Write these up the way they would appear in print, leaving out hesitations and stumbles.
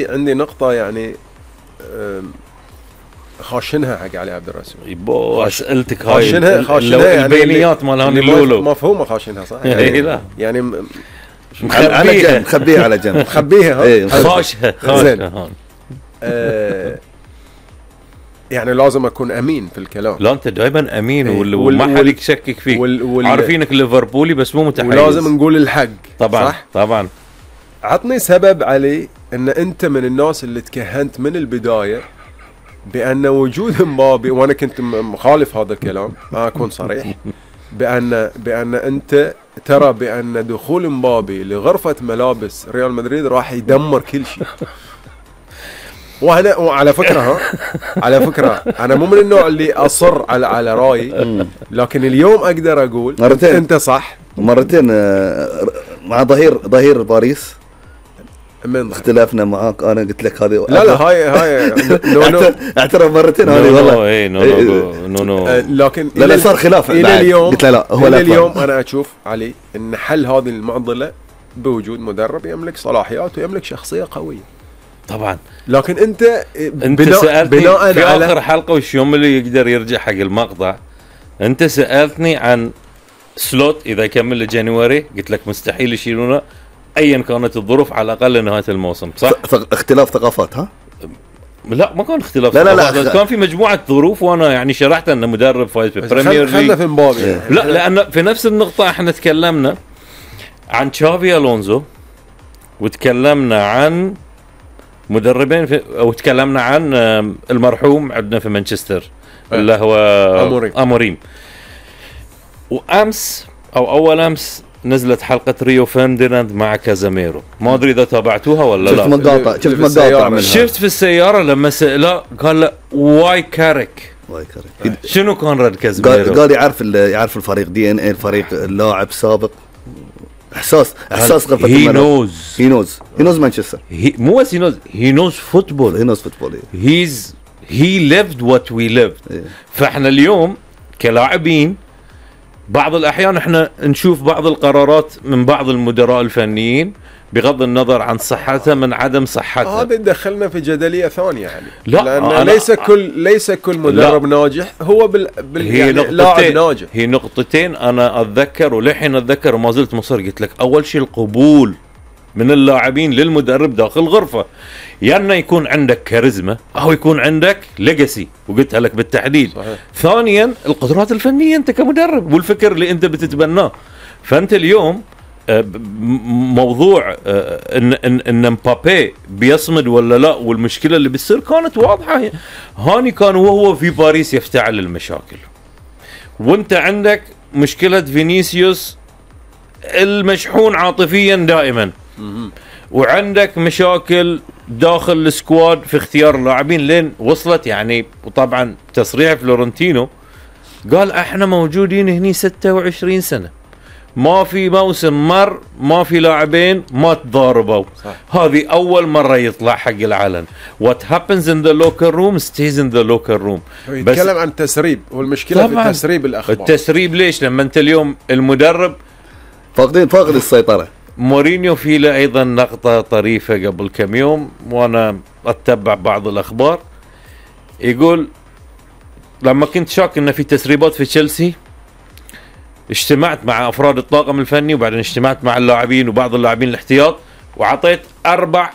عندي نقطة يعني خاشنها حق علي عبد الرسول. يبو اسئلتك هاي خاشنها يعني البينيات مال هاني اللولو مفهومة خاشنها صح؟ يعني لا يعني على جنب مخبيها على جنب مخبيها خاشها زين. يعني لازم اكون امين في الكلام. لا انت دائما امين وما حد يشكك فيك. عارفينك ليفربولي بس مو متحيز، ولازم نقول الحق طبعا صح؟ طبعا. عطني سبب علي ان انت من الناس اللي تكهنت من البداية بان وجود مبابي، وانا كنت مخالف هذا الكلام ما اكون صريح، بان انت ترى بان دخول مبابي لغرفة ملابس ريال مدريد راح يدمر كل شيء. وعلى فكرة على فكرة أنا مو من النوع اللي أصر على رأيي، لكن اليوم أقدر أقول مرتين. أنت صح مرتين مع ظهير باريس من اختلافنا معاك. أنا قلت لك هذه لا هاي نو اعترف مرتين هذه والله نو لكن لا صار خلاف إلى اليوم. قلت لا هو إلى اليوم أنا أشوف علي إن حل هذه المعضلة بوجود مدرب يملك صلاحيات ويملك شخصية قوية طبعا. لكن انت سألتني في اخر حلقة وش يوم اللي يقدر يرجع حق المقطع، انت سألتني عن سلوت اذا يكمل لجانيوري، قلت لك مستحيل يشيلونه ايا كانت الظروف على الاقل نهاية الموسم صح؟ اختلاف ثقافات ها؟ لا ما كان اختلاف لا كان في مجموعة ظروف، وانا يعني شرحت انه مدرب فايز بالبريمير ليج. خلنا في مبابي لا لان في نفس النقطة احنا تكلمنا عن تشافي الونزو وتكلمنا عن مدربين او تكلمنا عن المرحوم عندنا في مانشستر اللي هو اموريم. وامس او اول امس نزلت حلقة ريو فرديناند مع كازاميرو، ما ادري اذا تابعتوها ولا لا. شفت مقاطع منها. شفت في السيارة لما سأله قال له واي كارك شنو كان رد كازاميرو؟ قال يعرف الفريق دي ان اي الفريق، اللاعب سابق، احساس غرفة الملعب. he knows مانشستر. مو بس he knows football. he lived what we lived. فاحنا اليوم كلاعبين بعض الأحيان احنا نشوف بعض القرارات من بعض المدراء الفنيين بغض النظر عن صحتها من عدم صحتها. هذا دخلنا في جدلية ثانية يعني. لا لأن ليس كل مدرب ناجح هو يعني لاعب ناجح. هي نقطتين أنا أتذكر ولحين أتذكر وما زلت مصر. قلت لك أول شيء القبول من اللاعبين للمدرب داخل الغرفة، يعني يكون عندك كاريزما أو يكون عندك ليجاسي، وقلتها لك بالتحديد. صحيح. ثانيا القدرات الفنية أنت كمدرب والفكر اللي أنت بتتبناه. فأنت اليوم موضوع ان مبابي بيصمد ولا لا والمشكله اللي بتصير كانت واضحه. هاني كان وهو في باريس يفتعل المشاكل، وانت عندك مشكله فينيسيوس المشحون عاطفيا دائما، وعندك مشاكل داخل السكواد في اختيار اللاعبين لين وصلت يعني. وطبعا تصريح فلورنتينو قال احنا موجودين هني 26 سنه ما في موسم ما في لاعبين ما تضاربوا. هذه أول مرة يطلع حق العلن. What happens in the locker room stays in the locker room. يتكلم عن تسريب، والمشكلة في تسريب الأخبار. التسريب ليش؟ لما أنت اليوم المدرب فاقد السيطرة. مورينيو في له أيضا نقطة طريفة قبل كم يوم وأنا أتبع بعض الأخبار، يقول لما كنت شاك إن في تسريبات في تشيلسي اجتمعت مع افراد الطاقم الفني وبعدين اجتمعت مع اللاعبين وبعض اللاعبين الاحتياط وعطيت 4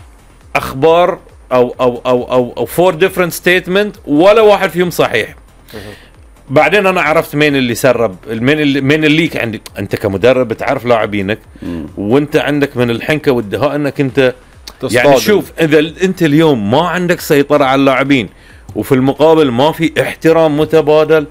اخبار او 4 different statement ولا واحد فيهم صحيح. بعدين انا عرفت مين اللي سرب، مين اللي عندك. انت كمدرب تعرف لاعبينك وانت عندك من الحنكه والدهاء انك انت يعني شوف اذا انت اليوم ما عندك سيطره على اللاعبين وفي المقابل ما في احترام متبادل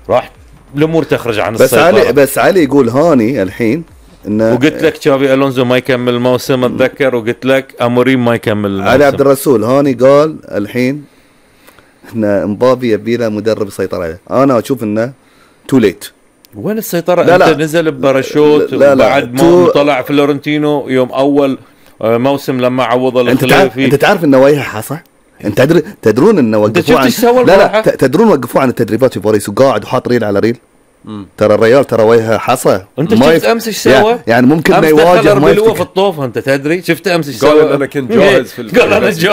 راح الامور تخرج عن السيطره. بس علي يقول هاني الحين انه وقلت لك تشافي الونزو ما يكمل الموسم اتذكر، وقلت لك اموريم ما يكمل الموسم. علي عبد الرسول هاني قال الحين ان مبابي يبي له مدرب يسيطر عليه. انا اشوف انه تو ليت. وين السيطره؟ انت نزل بباراشوت وبعد ما طلع فلورنتينو يوم اول موسم لما عوض الخلافي. انت تعرف انه وجهه صح؟ انت تدرون انه وقفوا عن تدرون وقفوا عن التدريبات في باريس وقاعد وحاط ريل على ريل. ترى الريال ترى وجهه حصى. انت شفت امس ايش سوى؟ يعني ممكن ما يواجه، ما في الطوف. انت تدري شفت امس ايش سوى؟ قال ان انا كنت جاهز في قال انا جاهز.